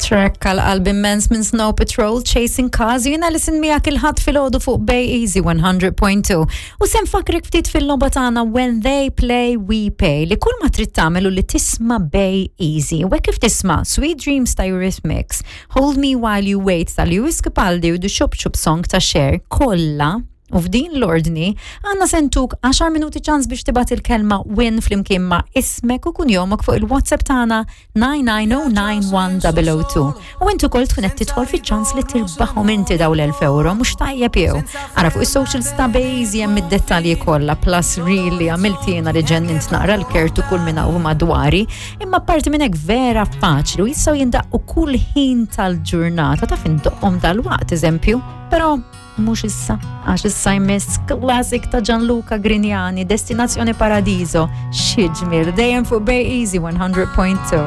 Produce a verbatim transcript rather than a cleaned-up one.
Track għal qalb immens minn Snow Patrol, Chasing Cars. Jiena li sin miegħek il-Ħadd filgħodu fuq Bay Easy one hundred point two. U se nfakkrek ftit fil-logħba tagħna When They Play We Pay, li kull ma trid tagħmel li tisma' Bay Easy. U hekk kif tisma' Sweet Dreams ta' Eurythmics, Hold Me While You Wait ta' Lewis Capaldi u The Chup Chup Song ta' Cher kollha u f'din l-ordni, għandna se ntuk għaxar minuti ċans biex tibgħat il-kelma "win" flimkien ma' ismek u kunjomok fuq il-WhatsApp tagħna nine nine zero nine one zero zero two. U intu kol tkun qed tidħol fiċ-ċans li tirbaħhom inti daw l-elf euro, mhux tajjeb jew? Ara fuq is-social ta' Bejzi hemm id-dettalji kollha, plus really għamilt jiena li ġennint naqra l-kertu kull minn hawn madwari, imma parti minn hekk vera faċli u jistgħu jindaqqu kull ħin tal-ġurnata, taf indoqqhom dal-waqt eżempju, però mhux issa, għax issa jmiss classic ta' Gianluca Grignani, Destinazione Paradiso, xi ġmiel, dejjem fuq Bay Easy one hundred point two.